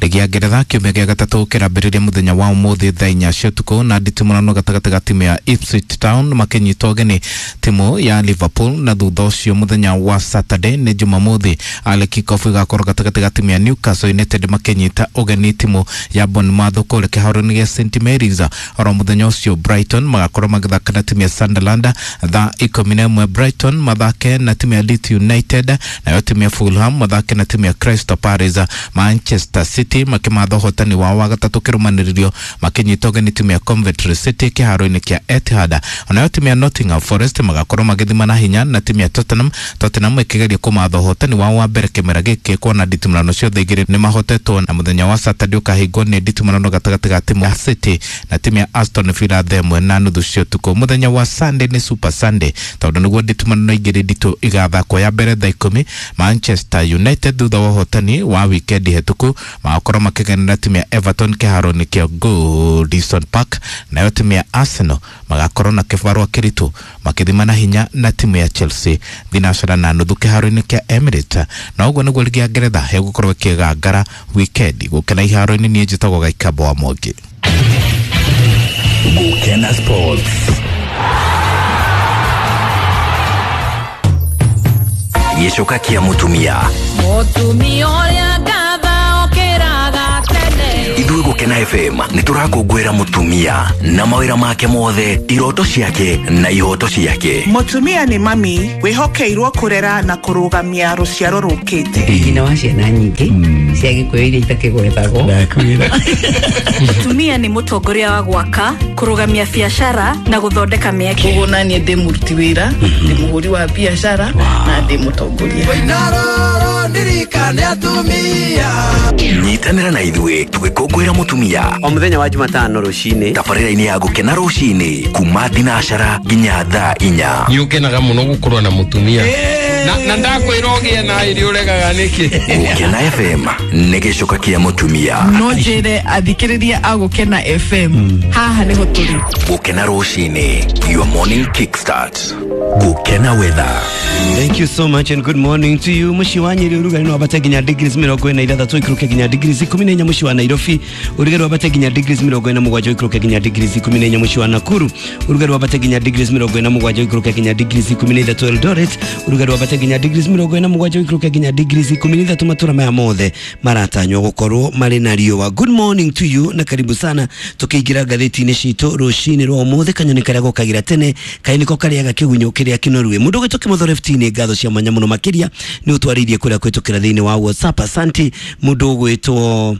Rigi ya Ngeretha kiumia gĩa gatatũ kĩrambĩrĩria mũthenya wa ũmũthĩ thaa 4 cia ũtukũ na nditimũrano gatagatĩ ga timu ya Ipswich Town makĩnyita ũgeni timu ya Liverpool, na thutha ũcio mũthenya wa Saturday nĩ Jumamothi ale kickoff ĩgakorwo gatagatĩ ga timu ya Newcastle United makĩnyita ũgeni timu ya Bournemouth kũrĩa kĩharo-inĩ gĩa St Mary's. Oro mũthenya ũcio Brighton magakorwo magĩthaka na timu ya Sunderland thaa 11, Brighton mathake na timu ya Leeds United, nayo timu ya Fulham mathake na timu ya Crystal Palace. Manchester City makimatha ũhotani wao wa gatatũ kĩrũmanĩrĩrio makĩnyita ũgeni timu ya Coventry City kĩharo-inĩ kĩa Etihad. Onayo timu ya Nottingham Forest magakorwo magĩthima na hinya na timu ya Tottenham, Tottenham ĩkĩgeria kũmatha ũhotani wao wa mbere kĩmera gĩkĩ kuona nditimũrano ciothe igĩrĩ nĩ mahotetwo, na mũthenya wa Saturday ũkahingwo nĩ nditimũrano gatagatĩ ga timu ya City na timu ya Aston Villa thaa 1:30 cia ũtukũ. Mũthenya wa Sunday nĩ Super Sunday tondũ nĩguo nditimũrano igĩrĩ nditũ igathakwo, ya mbere thaa 10 Manchester United thutha wa ũhotani wa wikendi hetũku magakorwo makĩgenera timu ya Everton kĩharo-inĩ kĩa Goodison Park, nayo timu ya Arsenal magakorwo na kĩbarũa kĩritũ makĩthima na hinya na timu ya Chelsea 4:30 kĩharo-inĩ kĩa Emirates. Na ũguo nĩguo ligi ya Ngeretha ĩgũkorwo ĩkĩgangara wikendi. Gũkena iharo-inĩ niĩ njĩtagwo Gaikambo wa Mwangi. Gukena Sports. Gĩcoka kĩa mũtumia. Mũtumia ũrĩa ngatha okĩraga tene. Ithuĩ Gũkena FM nĩ tũrakũngũĩra mũtumia na mawĩra make mothe, iroto ciake na ihoto ciake. Mũtumia nĩ mami wĩhokeirwo kũrera na kũrũgamia rũciaro rũkĩte. Nyina wa ciana nyingĩ cia Gĩkũyũ iria itakĩgwetagwo. Mũtumia nĩ mũtongoria wa gwaka, kũrũgamia biacara na gũthondeka mĩeke. Koguo naniĩ ndĩ mũruti wĩra, ndĩ mũhũri wa biacara na ndĩ mũtongoria. Nyitanĩra na ithuĩ tũgĩkũngũĩra mũtumia o mũthenya wa Jumatano rũcinĩ tabarĩra-inĩ ya Gũkena rũcinĩ kuma thinacara nginya thaa 4. Nĩ ũkenaga mũno gũkorwo na mũtumia na ndakwĩra ũgĩe na irio ũregaga nĩkĩ. Gũkena FM nĩ gĩcoka kĩa mũtumia. No njĩre athikĩrĩria a Gũkena FM haha nĩho tũrĩ. Gũkena rũcinĩ, your morning kickstart. Gũkena weather. Thank you so much and good morning to you. Mũciĩ wa Nyeri ũrugarĩ no wambate nginya degrees 46 ũikũrũke nginya degrees 14. Mũciĩ wa Nairobi ũrugarĩ wambate nginya degrees 47 ũikũrũke nginya degrees 14. Mũciĩ wa Nakuru ũrugarĩ wambate nginya degrees 47 ũikũrũke nginya degrees 13. Eldoret ũrugarĩ wambate nginya degrees 47 ũikũrũke nginya degrees 13. Matũra maya mothe maratanywo gũkorwo marĩ na riũa. Good morning to you na karibu sana tũkĩingĩra ngathĩti-inĩ citũ rũcinĩ rwa ũmũthĩ. Kanyoni karĩa gũkagĩra tene kaĩ nĩko karĩaga kĩgunyũ kĩrĩa kĩnoru. Mũndũ ũgwĩtwo Kĩmotho Left-inĩ ngatho cia mwanya mũno makĩria nĩ ũtwarĩirie kũrĩa kũhĩtũkĩra thĩinĩ wa WhatsApp. Asanti. Mũndũ ũgwĩtwo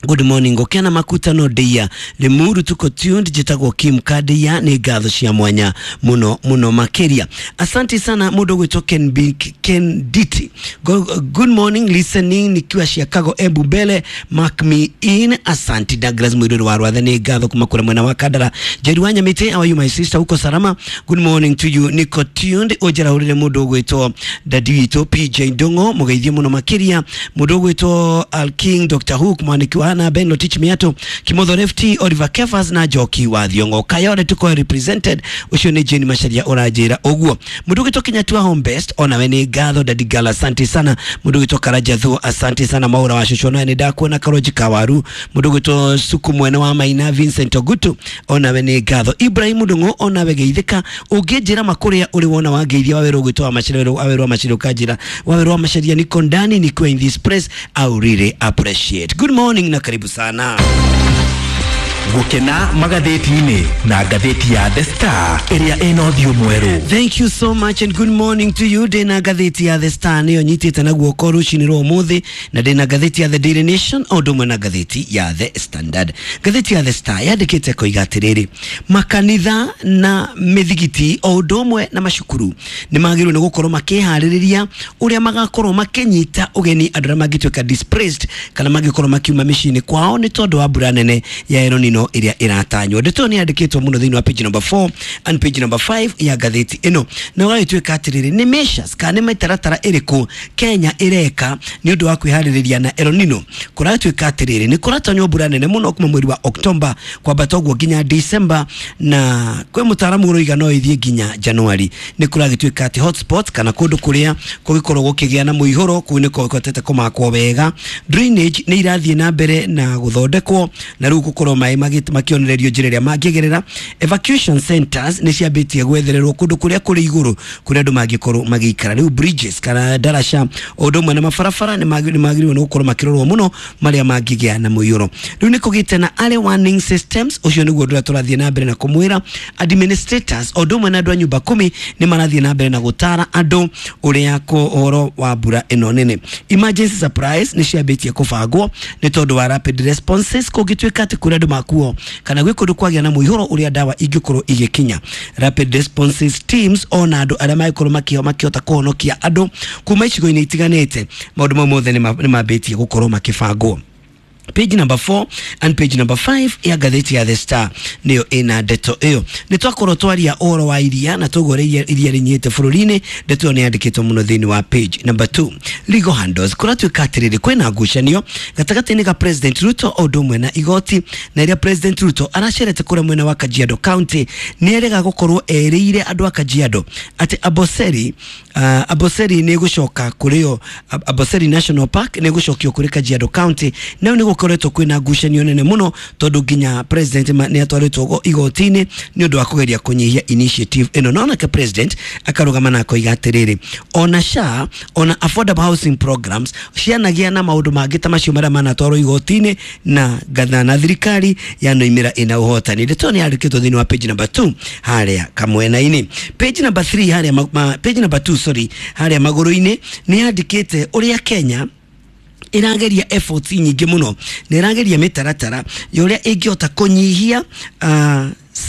Good morning Gũkena makutano ndeia Limuru tuko tuned njĩtagwo Kim Kadeia nĩ ngatho cia mwanya mũno mũno makĩria. Asante sana mũndũ ũgwĩtwo Ken B, Ken Diti. Good morning listening nikiwa Chicago Embu Bele mark me in. Asante Douglas Mwiruru wa Rwathe nĩ ngatho kuma kũrĩa mwena wa Kandara. Njeri wa Nyamĩtĩ, how are you my sister, uko salama? Good morning to you niko tuned. Ũnjarahũrĩre mũndũ ũgwĩtwo dadi witũ PJ Ndung'o mũgeithie mũno makĩria. Mũndũ ũgwĩtwo Al King Dr Hook mwaniki wa na Ben Lotich Miato Kimotho Lefty Oliver Kefas na Njoki wa Thiongo Kayore tuko represented ucio ni Jane Macharia ũranjĩra ũguo. Mũndũ ũgwĩtwo Kinyatua Home Best onawe nĩ ngatho. Dadi Gala asante sana. Mũndũ ũgwĩtwo Karaja Thuo asante sana. Maura wa Shosho nawe nĩ ndakuona. Karoji Kawaru. Mũndũ ũgwĩtwo Suku mwene wa Maina Vincent Ogutu onawe nĩ ngatho. Ibrahim Ndung'u onawe geithĩka. Ũngĩnjĩra makũrĩa ũrĩ wona wangeithia wawĩrwo ũgwĩtwo wa Macharia wawĩrwo wa Macharia ũkanjĩra wawĩrwo wa Macharia niko ndani niko in this place I really appreciate. Good morning na karibu sana. Gũkena magathĩti-inĩ na ngathĩti ya The Star ĩrĩa ĩna ũthiũ mwerũ. Thank you so much and good morning to you. Ndĩna ngathĩti ya The Star nĩyo nyitĩte na guoko rũcinĩ rwa ũmũthĩ, na ndĩna ngathĩti ya The Daily Nation o ũndũ ũmwe na ngathĩti ya The Standard. Ngathĩti ya The Star yandĩkĩte koiga atĩrĩrĩ, makanitha na mĩthigiti o ũndũ ũmwe na macukuru nĩ magĩrĩirwo nĩ gũkorwo makĩharĩrĩria ũrĩa magakorwo makĩnyita ũgeni andũ arĩa mangĩtuĩka displaced kana mangĩkorwo makiuma mĩciĩ-inĩ kwao nĩ tondũ wa mbura nene ya El Nino. Nino ĩrĩa ĩratanywo. Ndeto nĩ yandĩkĩtwo mũno thĩinĩ wa page number 4 and page number 5 ya ngathĩti ĩno, na ũgagĩtuĩka atĩrĩrĩ, nĩ measures kana nĩ mĩtaratara ĩrĩkũ Kenya ĩreka nĩ ũndũ wa kwĩharĩrĩria na El Nino. Kũratuĩka atĩrĩrĩ, nĩ kũratanywo mbura nene mũno kuma mweri wa Oktoba kwambata ũguo nginya December, na kwĩ mũtaaramu ũroiga no ĩthiĩ nginya Januari. Nĩ kũragĩtuĩka atĩ hotspots kana kũndũ kũrĩa kũgĩkorwo gũkĩgĩa na mũihũro kũu nĩ kũhotete kũmakwo wega. Drainage nĩ irathiĩ na mbere na gũthondekwo na rĩu gũkorwo maĩ makĩonererio njĩra ĩrĩa mangĩgerera. Evacuation centers nĩ ciambĩtie gwethererwo kũndũ kũrĩa kũrĩ igũrũ kũrĩa andũ mangĩkorwo magĩikara. Rĩu bridges kana ndaraca o ũndũ ũmwe na mabarabara nĩ magĩrĩirwo nĩ gũkorwo makĩrorwo mũno marĩa mangĩgĩa na mũiyũro. Rĩu nĩ kũgĩte na early warning systems, ũcio nĩguo ũndũ ũrĩa tũrathiĩ na mbere na kũmwĩra. Administrators o ũndũ ũmwe na andũ a nyũmba kumi nĩ marathiĩ na mbere na gũtara andũ ũrĩa ũhoro wa mbura ĩno nene. Emergency supplies nĩ ciambĩtie kũbangwo nĩ tondũ wa rapid responses kũngĩtuĩka atĩ kũrĩa andũ makuo kana gwĩ kũndũ kwagĩa na mũihũro ũrĩa ndawa ingĩkorwo igĩkinya. Rapid responses teams ona andũ arĩa mangĩkorwo makĩhota kũhonokia andũ kuma icigo-inĩ itiganĩte, maũndũ mau mothe nĩ mambĩtie gũkorwo makĩbangwo. Page number 4 and page number 5 ya ngathĩti ya The Star nĩyo ĩna ndeto ĩyo. Nĩ twakorwo twaria ũhoro wa iria na tũguo ũrĩa iria rĩnyihĩte bũrũri-inĩ. Ndeto ĩyo nĩ yandĩkĩtwo mũno thĩinĩ wa page number 2. Legal handles, kũratuĩka atĩrĩrĩ, kwĩna ngucanio gatagatĩ-inĩ ka President Ruto o ũndũ ũmwe na igoti, na ĩrĩa President Ruto aracerete kũrĩa mwena wa Kajiado County nĩ erega gũkorwo erĩire andũ a Kajiado atĩ Amboseli nĩ ĩgũcoka kũrĩo, Amboseli National Park nĩ ĩgũcokio kũrĩ Kajiado County. Na nĩ gũkoretwo kwĩna ngucanio nene mũno tondũ nginya president nĩ atwarĩtwo igoti-inĩ nĩ ũndũ wa kũgeria kũnyihia initiative ĩno. No onake president akarũgama na akoiga atĩrĩrĩ, ona SHA ona affordable housing programs cianagĩa na maũndũ mangĩ ta macio marĩa manatwarwo igoti-inĩ na ngatha na thirikari yanoimĩra ĩna ũhotani. Ndeto nĩ yandĩkĩtwo thĩinĩ wa page number 2 harĩa kamwena-inĩ. Page number 3 harĩa page number 2 sorry harĩa magũrũ-inĩ nĩ yandĩkĩte ũrĩa Kenya ĩrageria efforts nyingĩ mũno na ĩrageria mĩtaratara ya ũrĩa ĩngĩhota kũnyihia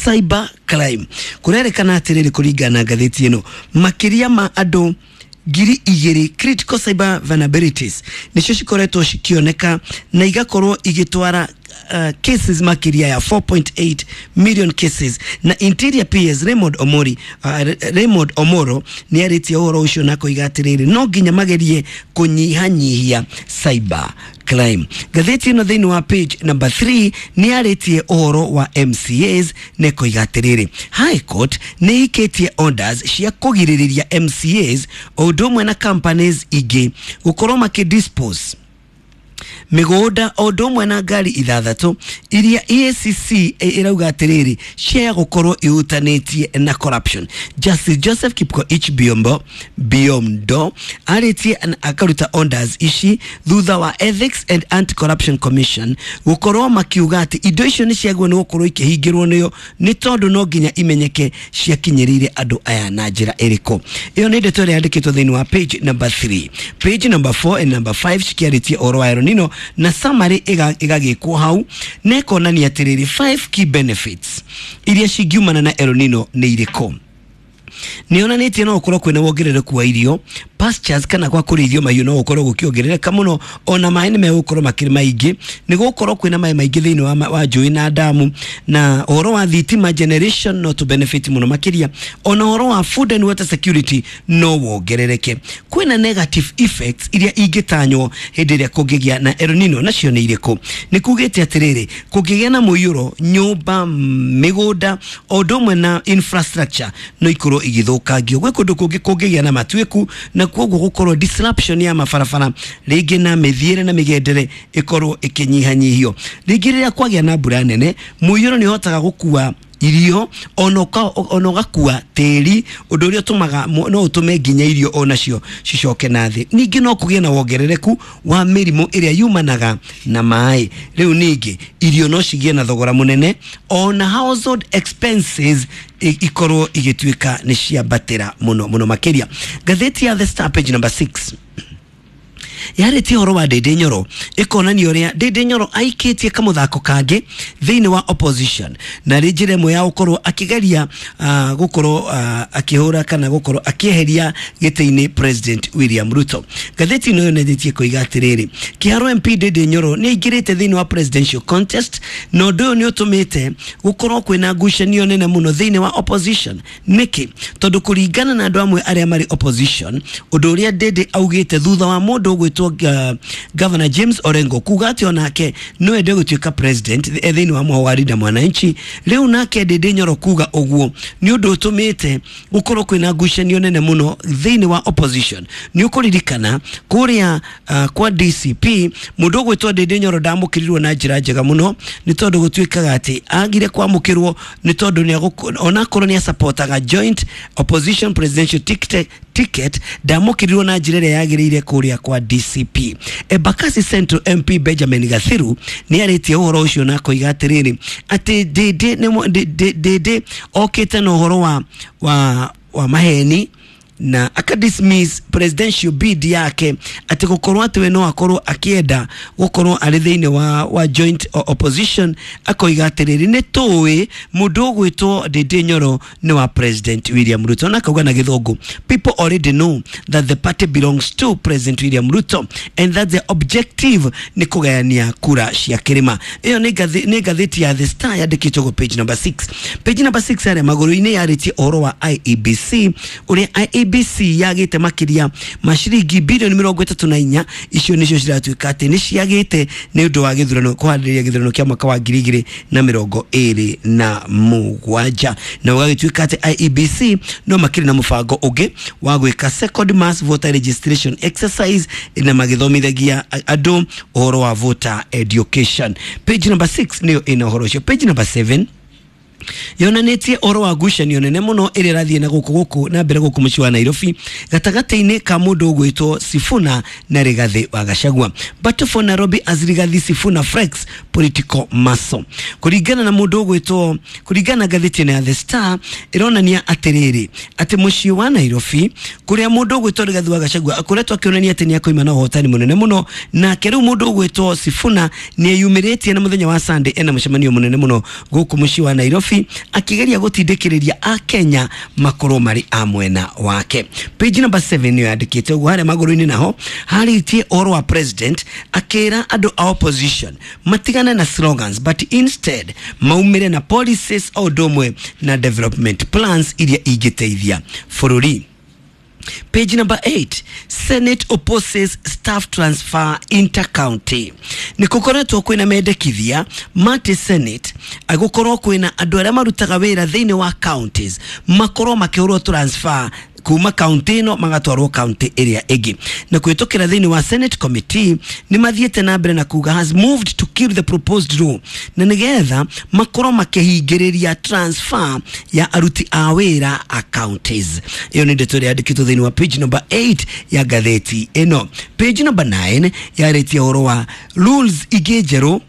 cyber crime. Kũrerĩkana atĩrĩrĩ, kũringana na ngathĩti ĩno, makĩria ma andũ 2,000 critical cyber vulnerabilities nĩcio cikoretwo cikĩoneka na igakorwo igĩtwara cases makĩria ya 4.8 million cases. Na Interior PS Raymond Omoro nĩ arĩtie ũhoro ũcio na koiga atĩrĩrĩ, no nginya magerie kũnyihanyihia cyber crime. Ngathĩti ĩno thĩinĩ wa page number 3 nĩ yarĩtie ũhoro wa MCAs na ĩkoiga atĩrĩrĩ, High Court nĩ ĩikĩtie orders cia kũgirĩrĩria MCAs o ũndũ ũmwe na companies ingĩ gũkorwo makĩdispose mĩgũnda o ũndũ ũmwe na ngari 6 iria EACC ĩrauga atĩrĩrĩ cia gũkorwo ihutanĩtie na corruption. Justice Joseph Kipkoech Biondo arĩtie akaruta orders ici thutha wa Ethics and Anti-Corruption Commission gũkorwo makiuga atĩ indo icio nĩ ciagĩrĩirwo nĩ gũkorwo ikĩhingĩrwo nĩo nĩ tondũ no nginya imenyeke ciakinyĩrĩire andũ aya na njĩra ĩrĩkũ. Ĩyo nĩ ndeto ĩrĩa yandĩkĩtwo thĩinĩ wa page number 3. Page number 4 and number 5 cikĩarĩtie ũhoro wa El Nino na summary ĩgagĩkwo hau na ĩkonania atĩrĩrĩ, 5 key benefits iria cingiumana na El Nino nĩ irĩkũ. Nĩ yonanĩtie no gũkorwo kwĩna wongerereku wa irio, pastures kana kwa kũrĩithio mahiũ no gũkorwo gũkĩongerereka mũno, ona maĩ nĩ megũkorwo makĩrĩ maingĩ, nĩ gũkorwo kwĩna maĩ maingĩ thĩinĩ wa njũĩ na damu, na ũhoro wa thitima generation no to benefit mũno makĩria, ona ũhoro wa food and water security no wongerereke. Kwĩna negative effects iria ingĩtanywo hĩndĩ ĩrĩa kũngĩgĩa na El Nino, nacio nĩ irĩkũ? Nĩ kugĩte atĩrĩrĩ, kũngĩgĩa na mũiyũro, nyũmba, mĩgũnda o ũndũ ũmwe na infrastructure no ikorwo igĩthũkangio. Gwĩ kũndũ kũngĩ kũngĩgĩa na matuĩku na koguo gũkorwo disruption ya mabarabara rĩngĩ na mĩthiĩre na mĩgendere ĩkorwo ĩkĩnyihanyihio. Rĩngĩ rĩrĩa kwagĩa na mbura nene, mũiyũro nĩ ũhotaga gũkua irio ona ũgakua tĩri, ũndũ ũrĩa ũtũmaga no ũtũme nginya irio onacio cicoke na thĩ. Ningĩ no kũgĩe na wongerereku wa mĩrimũ ĩrĩa yumanaga na maĩ. Rĩu ningĩ irio no cigĩe na thogora mũnene, ona household expenses ikorwo igĩtuĩka nĩ ciambatĩra mũno mũno makĩria. Ngathĩti ya The Star page number 6 Yarĩtie ũhoro wa Ndindi Nyoro, ĩkonania ũrĩa Ndindi Nyoro aikĩtie kamũthako kangĩ thĩinĩ wa opposition, na rĩ njĩra ĩmwe ya gũkorwo akĩgeria gũkorwo akĩhũra kana gũkorwo akĩeheria gĩtĩ-inĩ President William Ruto. Ngathĩti ĩno yonanĩtie koiga atĩrĩrĩ, Kĩharũ MP Ndindi Nyoro nĩ aingĩrĩte thĩinĩ wa presidential contest, na ũndũ ũyũ nĩ ũtũmĩte gũkorwo kwĩna ngucanio nene mũno thĩinĩ wa opposition. Nĩkĩ? Tondũ kũringana na andũ amwe arĩa marĩ opposition, ũndũ ũrĩa Ndindi augĩte thutha wa mũndũ ũgwĩtwo Governor James Orengo kuga atĩ onake no ende gũtuĩka president thĩinĩ wa mũhwa wa Linda Mwananchi, rĩu nake Ndindi Nyoro kuga ũguo nĩ ũndũ ũtũmĩte gũkorwo kwĩna ngucanio nene mũno thĩinĩ wa opposition. Nĩ ũkũririkana kũrĩa kwa DCP mũndũ ũgwĩtwo Ndindi Nyoro ndamũkĩrirwo na njĩra njega mũno, nĩ tondũ gũtuĩkaga atĩ agire kwamũkĩrwo nĩ tondũ onakorwo nĩ asapotaga joint opposition presidential ticket ndamũkĩrirwo na njĩra ĩrĩa yagĩrĩire kũrĩa kwa DCP. Embakasi Central MP Benjamin Gathiru nĩ arĩtie ũhoro ũcio na akoiga atĩrĩrĩ, atĩ Ndindi okĩte na ũhoro wa maheni na aka dismiss presidential bid yake, ati gukorwo ati we no akorwo akienda gukorwo ari thiini wa joint opposition. Akoiga atiriri, ni tuwi mundu ugwitwo Ndindi Nyoro ni wa President William Ruto, na akauga na Githungu, people already know that the party belongs to President William Ruto and that the objective ni kugayania kura cia kirima. Iyo ni ngathĩti ya The Star yandĩkĩtwo page number 6. Page number 6 arĩa magũrũ-inĩ yarĩtie ũhoro wa IEBC, ũrĩa IEBC yagĩte makĩria ma ciringi bilioni 34, icio nicio ciratuĩka atĩ nĩ ciagĩte nĩ ũndũ wa gĩthurano, kũharĩrĩria gĩthurano kĩa mwaka wa 2027, na ũgagĩtuĩka atĩ IEBC no makĩrĩ na mũbango ũngĩ wa gwĩka second mass voter registration exercise, na magĩthomithagia andũ ũhoro wa voter education. Page number 6 nĩyo ĩna ũhoro ũcio. Page number 7 yonanĩtie ũhoro wa ngucanio nene mũno ĩrĩa ĩrathiĩ na gũkũ na mbere gũkũ mũciĩ wa Nairobi gatagatĩ-inĩ ka mũndũ ũgwĩtwo Sifuna na Rigathi wa Gachagua. Battle for Nairobi as Rigathi Sifuna flex political muscle. Kũringana na mũndũ ũgwĩtwo, kũringana na ngathĩti ya The Star, ĩronania atĩrĩrĩ, atĩ mũciĩ wa Nairobi kũrĩa mũndũ ũgwĩtwo Rigathi wa Gachagua akoretwo akĩonania atĩ nĩakoima na ũhotani mũnene mũno, nake rĩu mũndũ ũgwĩtwo Sifuna nĩeyumĩrĩtie na mũthenya wa Sunday ena mũcemanio mũnene mũno gũkũ mũciĩ wa Nairobi akigeria gutindikiriria a Kenya makorwo mari a mwena wake. Page number 7 niyo yandikite uguo. Haria maguru-ini naho haritie ũhoro wa president akira andu a opposition matigane na slogans but instead maumire na policies o ũndũ ũmwe na development plans iria ingĩteithia bũrũri. Page number 8, Senate opposes staff transfer intercounty. Ni kukoretwo kwina mendekithia mati Senate agukorwo kwina andu aria marutaga wira thiini wa counties makorwo makihurwo transfer kuma county ino magatwarwo county area ĩngĩ, na kwitukira thiini wa Senate committee ni mathiete na mbere na kuga has moved to kill the proposed law, na nigetha makorwo makihingiriria transfer ya aruti a wira a counties. Iyo ni ndeto ĩrĩa yandĩkĩtwo thiini wa page number 8 ya ngathĩti ĩno. Page number 9 yarĩtie ũhoro wa rules ingĩ njerũ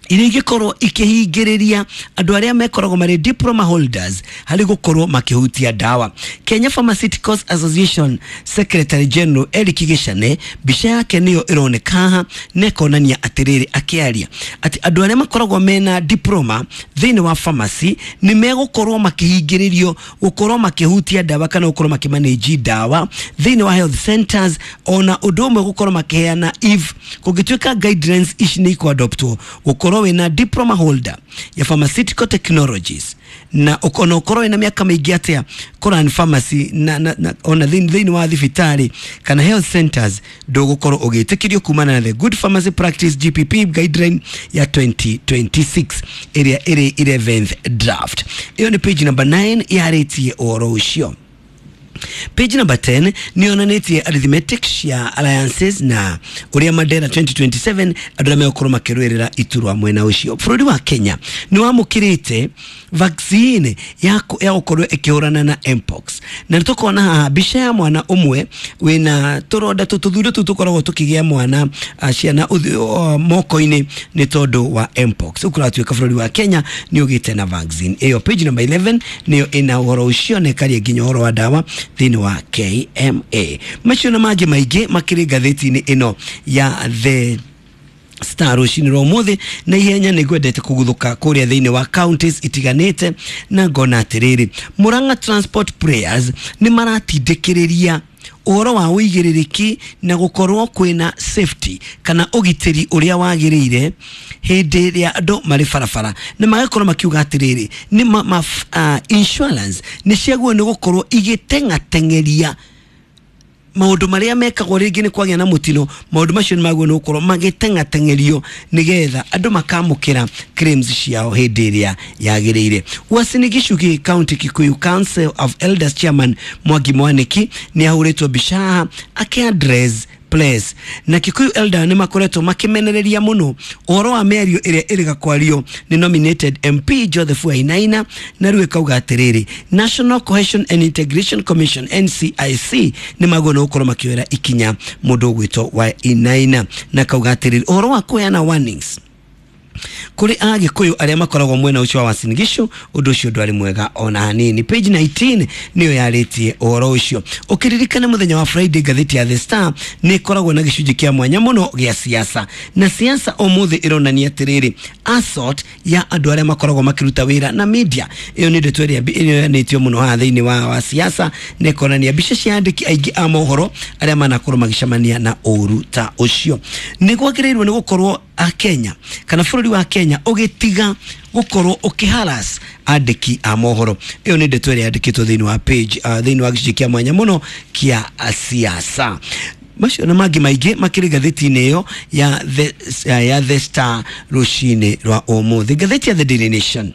iria ingĩkorwo ikĩhingĩrĩria andũ arĩa mekoragwo marĩ diploma holders harĩ gũkorwo makĩhutia ndawa. Kenya Pharmaceuticals Association Secretary General Eric Gicane, mbica yake nĩyo ĩroneka haha na ĩkonania atĩrĩrĩ akĩaria atĩ andũ arĩa makoragwo mena diploma thĩinĩ wa pharmacy nĩ megũkorwo makĩhingĩrĩrio gũkorwo makĩhutia ndawa kana gũkorwo makĩmanage ndawa thĩinĩ wa health centers, ona ũndũ ũmwe gũkorwo makĩheana if kũngĩtuĩka guidelines ici nĩ ikũadoptwo gũkorwo wina diploma holder ya pharmaceutical technologies na ona ukorwo wina miaka mingi atia Koran pharmacy na ona thini wa thibitari kana health centers ndugukorwo ugitikirio kumana na the good pharmacy practice GPP guideline ya 2026 area iri 11th draft. Iyo ni page number 9 yaritie ũhoro ũcio. Page number 10 ni onanitie arithmetic cia alliances na uria Mandela 2027 andu aria megukorwo makirwirira iturwa mwena ucio. Bũrũri wa Kenya ni wamũkĩrĩte vaccine ya gukorwo ikihurana na mpox, na nĩtũkona haha mbica ya mwana ũmwe wĩna tũronda tũthundo tũu tũkoragwo tũkĩgĩa mwana ciana moko-inĩ nĩ tondũ wa mpox. Rĩu kũratuĩka bũrũri wa Kenya nĩ ũgĩte na vaccine ĩyo. Page number 11 nĩyo ĩna ũhoro ũcio na ĩkaria nginya ũhoro wa ndawa thĩinĩ wa KMA. Macio na mangĩ maingĩ makĩrĩ ngathĩti-inĩ ĩno ya The Star rũcinĩ rwa ũmũthĩ. Na ihenya nĩ ngwendete kũguthũka kũrĩa thĩinĩ wa counties itiganĩte, na ngona atĩrĩrĩ, Murang'a Transport Players nĩ maratindĩkĩrĩria ũhoro wa ũigĩrĩrĩki na gũkorwo kwĩna safety kana ũgitĩri ũrĩa wagĩrĩire hĩndĩ ĩrĩa andũ marĩ barabara, na magakorwo makiuga atĩrĩrĩ nĩ insurance nĩ ciagĩrĩirwo nĩ gũkorwo igĩteng'ateng'eria maũndũ marĩa mekagwo rĩngĩ nĩ kwagĩa na mũtino. Maũndũ macio nĩ magĩrĩirwo nĩ gũkorwo magĩteng'ateng'erio nĩgetha andũ makamũkĩra claims ciao hĩndĩ ĩrĩa yagĩrĩire. Uasin Gishu County Kikuyu Council of Elders Chairman Mwangi Mwaniki nĩ ahũrĩtwo mbica haha akĩ-address place, na Kikuyu Elder nĩ makoretwo makĩmenereria mũno ũhoro wa mĩario ĩrĩa ĩrĩga kwario nĩ nominated MP Joseph Wainaina, na rĩu ĩkauga atĩrĩrĩ, National Cohesion and Integration Commission NCIC nĩ magwo nĩ gũkorwo makĩoera ikinya mũndũ ũgwĩtwo Wainaina, na kauga atĩrĩrĩ, ũhoro wa kũheana warnings kũrĩ Agĩkũyũ arĩa makoragwo mwena ũcio wa Uasin Gishu, ũndũ ũcio ndwarĩ mwega ona hanini. Page 19 nĩyo yarĩtie ũhoro ũcio. Ũkĩririkana mũthenya wa Friday, ngathĩti ya The Star nĩ ĩkoragwo na gĩcunjĩ kĩa mwanya mũno gĩa siasa, na siasa ũmũthĩ ĩronania atĩrĩrĩ, assault ya andũ arĩa makoragwo makĩruta wĩra na media. Ĩyo nĩ ndeto ĩrĩa ĩonanĩtio mũno haha thĩinĩ wa siasa, na ĩkonania mbica cia andĩki aingĩ a mohoro arĩa manakorwo magĩcemania na ũru ta ũcio. Nĩ kwagĩrĩirwo nĩ gũkorwo a Kenya kana bũrũri wa Kenya ũgĩtiga gũkorwo ũkĩharas andĩki a mohoro. Ĩyo nĩ ndeto ĩrĩa yandĩkĩtwo thĩinĩ wa page thĩinĩ wa gĩcunjĩ kĩa mwanya mũno kĩa siasa. Macio na mangĩ maingĩ makĩrĩ ngathĩti-inĩ ĩyo ya The Star rũcinĩ rwa ũmũthĩ. Ngathĩti ya The Daily Nation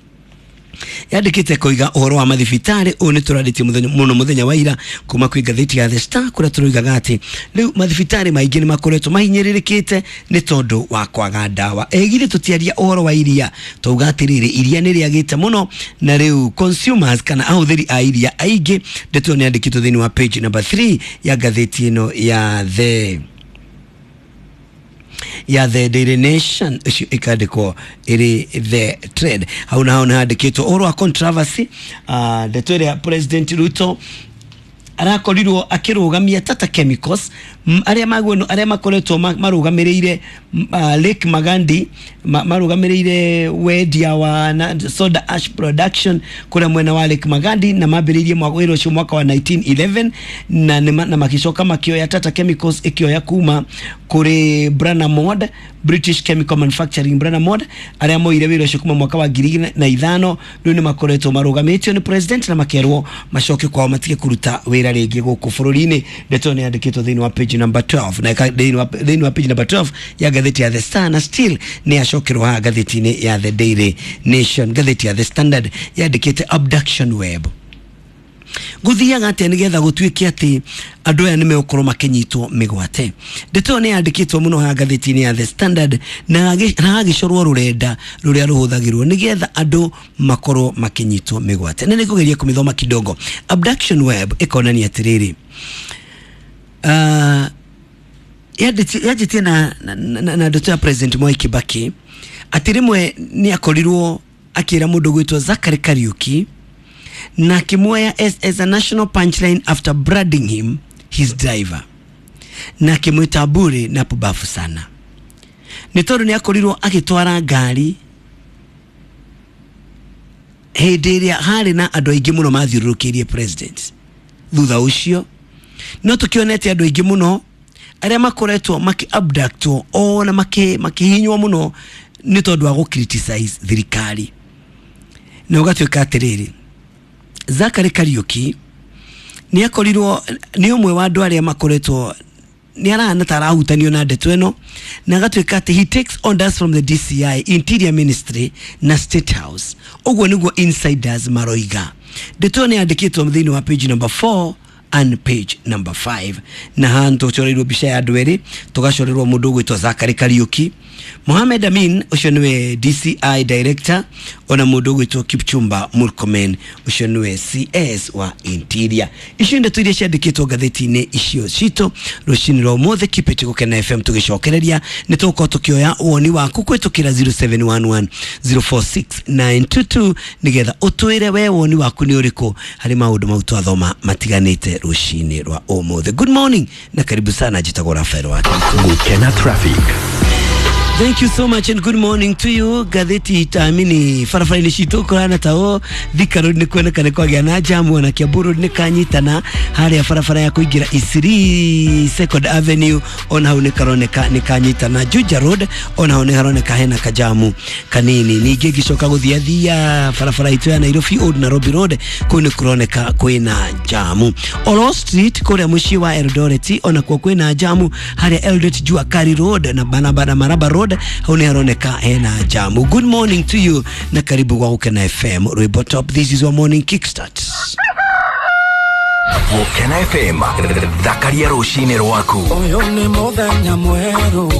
yandĩkĩte koiga ũhoro wa mathibitarĩ. Ũyũ nĩ tũrarĩtie mũno mũthenya wa ira kuma kwĩ ngathĩti ya The Star, kũrĩa tũroigaga atĩ rĩu mathibitarĩ maingĩ nĩ makoretwo mahinyĩrĩrĩkĩte nĩ tondũ wa kwaga ndawa. Ĩgithĩ tũtiaria ũhoro wa iria, twauga atĩrĩrĩ, iria nĩ rĩagĩte mũno na rĩu consumers kana ahũthĩri a iria aingĩ. Ndeto ĩyo nĩ yandĩkĩtwo thĩinĩ wa page number 3 ya ngathĩti ĩno ya The Daily Nation, ũcio ĩkandĩkwo ĩrĩ The Trend. Hau na hau nĩ handĩkĩtwo ũhoro wa controversy, ndeto ĩrĩa President Ruto arakorirwo akĩrũgamia Tata Chemicals, arĩa magweno arĩa makoretwo marũgamĩrĩire Lake Magadi, marũgamĩrĩire wendia wa soda ash production kũrĩa mwena wa Lake Magadi, na mambĩrĩirie wĩra ũcio mwaka wa 1911, na magĩcoka makĩoya Tata Chemicals ĩkĩoya kuma kũrĩ Brana British Chemical Manufacturing Brana, arĩa moire wĩra ũcio kuma mwaka wa 2005. Rĩu nĩ makoretwo marũgamĩtio nĩ president na makerwo macoke kwao matige kũruta wĩra rĩngĩ gũkũ bũrũri-inĩ. Ndeto nĩ yandĩkĩtwo thĩinĩ wa page number 12 na thĩinĩ wa page number 12 ya ngathĩti ya The Star, na still nĩ yacokerwo haha ngathĩti-inĩ ya The Daily Nation. Ngathĩti ya The Standard yandĩkĩte abduction web. Gũthiaga atĩa nĩgetha gũtuĩke atĩ andũ aya nĩ megũkorwo makĩnyitwo mĩgwate? Ndeto ĩyo nĩ yandĩkĩtwo mũno haha ngathĩti-inĩ ya The Standard, na hagĩcorwo rũrenda rũrĩa rũhũthagĩrwo nĩgetha andũ makorwo makĩnyitwo mĩgwate, na nĩngũgeria kũmĩthoma kidogo. Abduction web ĩkonania atĩrĩrĩ, yanjĩtie na ndeto ya President Mwai Kibaki atĩ rĩmwe nĩ akorirwo akĩra mũndũ gwĩtwo Zachary Kariuki na akĩmuoya as a national punchline after branding him his driver, na akĩmwĩta bure na pubafu sana, nĩ tondũ nĩ akorirwo agĩtwara ngari hĩndĩ ĩrĩa harĩ na andũ aingĩ mũno mathiũrũrũkĩirie president. Thutha ũcio no tũkĩonete andũ aingĩ mũno arĩa makoretwo makĩ-abductwo ona makĩhinywo mũno nĩ tondũ wa gũ-criticize thirikari, na ũgatuĩka atĩrĩrĩ, Zachary Kariuki nĩ akorirwo nĩ ũmwe wa andũ arĩa makoretwo nĩ arahana ta arahutanio na ndeto ĩno, na agatuĩka atĩ he takes orders from the DCI, Interior Ministry na State House. Ũguo nĩguo insiders maroiga. Ndeto ĩyo nĩ yandĩkĩtwo thĩinĩ wa page number 4 and page number 5, na haha tũcoreirwo mbica ya andũ erĩ, tũgacorerwo mũndũ ũgwĩtwo Zachary Kariuki. Mohamed Amin ũcio nĩwe DCI director, ona mũndũ ũgwĩtwo Kipchumba Murkomen ũcio nĩwe CS wa Interior. Icio ndeto iria ciandĩkĩtwo ngathĩti-inĩ icio citũ rũcinĩ rwa ũmũthĩ. Keep it Gũkena FM, tũgĩcokereria nĩ tũgũkorwo tũkĩoya woni waku kũhĩtũkĩra 0711 046 922 nĩgetha ũtwĩre we woni waku nĩ ũrĩkũ harĩ maũndũ mau twathoma matiganĩte rũcinĩ rwa ũmũthĩ. Good morning na karibu sana, njĩtagwo Rafael Wakitũ. Gũkena Traffic. Thank you so much and good morning to you. Gatheti tamini barabara-inĩ citũ kũhana ta ũũ. Thika Road nĩ kuoneka nĩ kwagĩa na jamu, ona Kiambu Road nĩ kanyitana harĩa barabara ya kũingĩra Isiri Second Avenue, ona hau nĩ karoneka nĩ kanyitana. Juja Road ona hau nĩ haroneka hena kajamu kanini. Ningĩ ngĩcoka gũthiathia barabara itũ ya Nairobi Old Nairobi Road, kũu nĩ kũroneka kwĩna jamu. Olo Street kũrĩa mũciĩ wa Eldoret ona kuo kwĩna jamu harĩa Eldoret Jua Kali Road na barabara Maraba Road, hau nĩ haroneka hena jamu. Good morning to you na karibu gwa Gũkena FM Rwĩmbo Top. This is your morning kickstart. Gũkena FM, thakaria rũcinĩ rwaku. Ũyũ nĩ mũthenya mwerũ.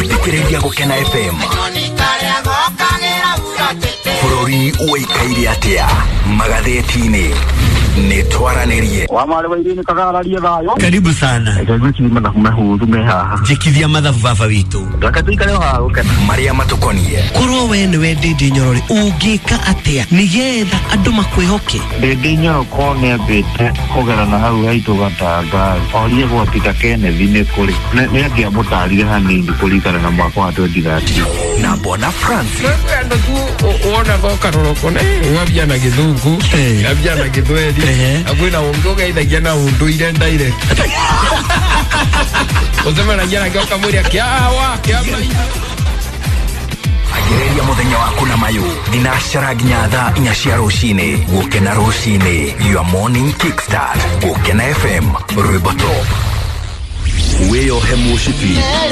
Thikĩrĩria Gũkena FM. Bũrũri ũikaire atĩa magathĩti-inĩ? Nĩ twaranĩrie. Wa marĩ wa irini kagararie thayũ. Karibu sana. Reke mathabu mahũthũ me haha. Njĩkithia mathabu baba witũ. Reke tũikare o haha Gũkena. Marĩa matũkonie. Korwo we nĩwe Ndĩndĩ Nyorore, ũngĩka atĩa nĩgetha andũ makwĩhoke? Ndĩndĩ Nyoro korwo nĩambĩte kũgerana hau haitũ Gatanga, orie gwa Peter Kenneth nĩ kũrĩ. Nĩ angĩamũtarire hanini kũringana na mwaka wa 2013. Na Bwana Francis. Andũ tu wonaga ũkarora ũkona ũgambia na gĩthũngũ, ngambia na gĩthweri, na kwĩna ũngĩ ũgeithagia na ũndũire direct. Ũcemanagia nake ũkamwĩra kĩawa kĩa Agĩrĩria mũthenya waku na mayũ thinacara nginya thaa 4 cia rũcinĩ. Gũkena rũcinĩ, your morning kickstart. Gũkena FM, Rwĩmbo Top. Wĩyohe mũcibi.